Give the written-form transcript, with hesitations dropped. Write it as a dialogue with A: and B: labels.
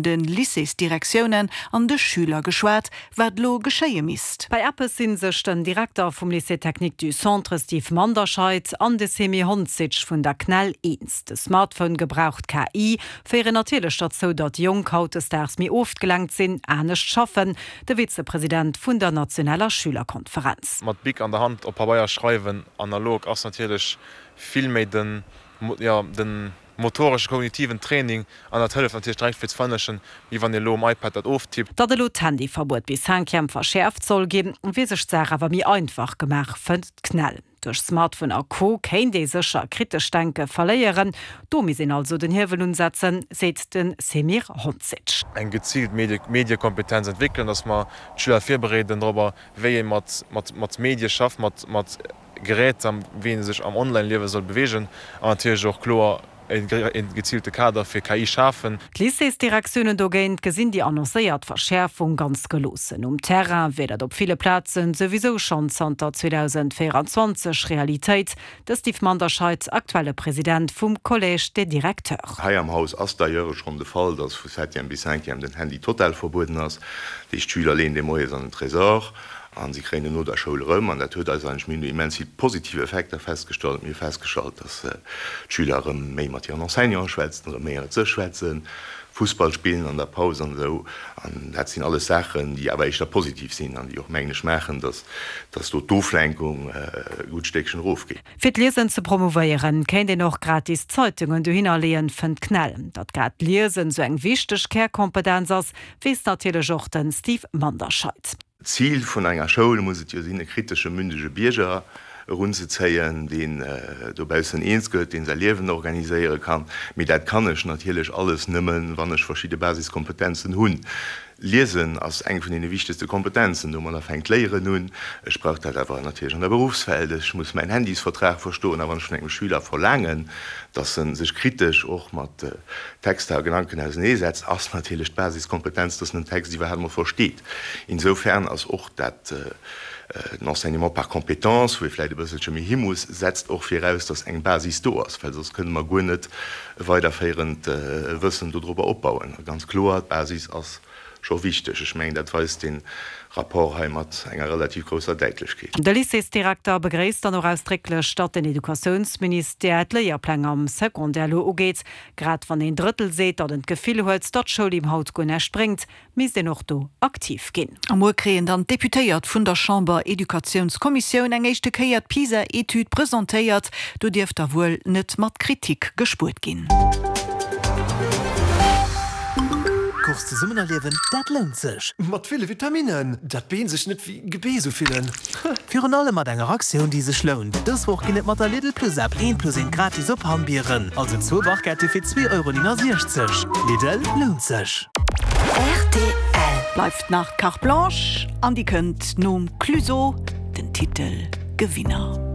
A: De Lycéesdirektiounen an de Schüler geschwat, wat elo geschéie misst.
B: Bei eppes si sech den Direkter vum Lycée technique du Centre Steve Manderscheid an de Semir Honcic vun der CNEL eens, De Smartphone-Gebrauch, d'KI féieren natierlech derzou, datt Jonk hautdesdaags méi ofgelenkt sinn, anescht schaffen. De Vizepresident vun der nationaler Schülerkonferenz.
C: Mat Bic an der Hand op Pabeier schreiwen, analog, ass natierlech vill méi den, jo, den motoresche kognitiven Training an dat hëlleft natierlech direkt fir ze verënnerlechen, wéi wann ee elo um iPad dat oftippt.
B: Datt elo d'Handyverbuet bis Cinquième verschäerft soll ginn, wier sech d'Saach awer méi einfach gemaach, fënnt d'CNEL. Duerch Smartphone a Co. Kéint ee sécher kritescht Denke verléieren. Do misst een also den Hiewel unsetzen, seet de Semir Honcic.
C: Eng geziilt Mediekompetenz entwéckelen, datt mer d'Schüler virbereeden dorobber, wéi ee mat Medie schafft, mat Geräter, wéi ee sech am Online-Liewe soll beweegen an natierlech och kloer e geziilte Kader fir KI schafen.
B: D'Lycéesdirektiounen dogéint gesinn déi annoncéiert Verschäerfung ganz geloossen. Um Terrain wier dat op ville Plazen souwisou schonn zanter 2024 Realitéit. De Steve Manderscheid, aktuelle President vum Collège des Directeurs.
D: Hei am Haus ass d'ailleurs schonn de Fall, dass vu septième bis cinquième den Handy total verbueden ass. Déi Schüler leeën dee moies an den Tresor An si kréien en no der Schoul erëm. An dat huet eis eigentlech, mir hunn do immens vill positiv Effekter festgestallt. Mir hu festgestallt, dass d'Schüler erëm méi mat hiren Enseignanten schwätzen, erëm méi ënnert sech schwätzen, Fussball spillen an der Paus an esou. An dat sinn alles Saachen, déi awer éischter positiv sinn an déi och, mengen ech, maachen, dass, dass do d'Oflenkung e gutt Stéckchen erofgeet.
B: Fir d'Liesen ze promouvéieren, kéint een och gratis Zeitungen dohinner leeën, fënnt d'CNEL. Datt grad d'Liesen esou eng wichteg Kärkompetenz ass, weess natierlech och de Steve Manderscheid.
D: D'Zil vun enger Schoul muss et jo sinn, e kritesche, mündege Bierger erunzezéien, deen dobaussen eens gëtt, deen säi Liewen organiséiere kann. Mee dat kann ech natierlech alles nëmmen, wann ech verschidde Basiskompetenzen hunn. Liesen ass eng vun deene wichtegste Kompetenzen. Domadder fänkt d'Léieren un. Ech brauch dat awer natierlech an der Beruffswelt. Ech muss mäin Handysvertrag verstoen. A wann ech vun engem Schüler verlaangen, dass e sech kritesch och mat Texter a Gedanken auseneesetzt, ass natierlech d'Basiskompetenz, dass en den Text iwwerhaapt emol versteet. Insofern ass och dat den Enseignement par compétences, wou ee vläicht e bësselche méi hi muss, setzt och viraus, dass eng Basis do ass, well soss kënne mer guer net e weiderféierend Wëssen dodrobber opbauen. A ganz kloer, d'Basis ass scho wichteg. Ech mengen, dat weist dee Rapport hei mat enger relativ grousser Däitlechkeet.
B: De Lycéesdirekter begréisst dann och ausdrécklech, datt den Educatiounsministère d'Léierpläng am Secondaire elo ugeet. Grad wann een Drëttel seet, datt en d'Gefill huet, datt d'Schoul him haut guer näischt bréngt, misst een och do aktiv ginn.
A: A muer kréien dann d'Deputéiert vun der Chamber-Educatiounskommissioun eng éischte Kéier d'PISA-Etüd presentéiert. Do dierft da wuel net mat Kritik gespuert ginn.
E: Course zesummen erliewen, dat lount sech!
F: Mat ville Vitaminnen, dat d'Been sech net wéi Gebeess ufillen.
E: Virun allem mat enger Aktioun, déi sech lount. Dës Woch ginn et mat der Lidl Plus App eent plus eent gratis op Hammbieren, also zwou Barquette fir 2,69 Euro. Lidl, lount sech!
A: Rtl. Bleift nach d'Carte Blanche an déi kënnt nom Clueso, den Titel Gewinner.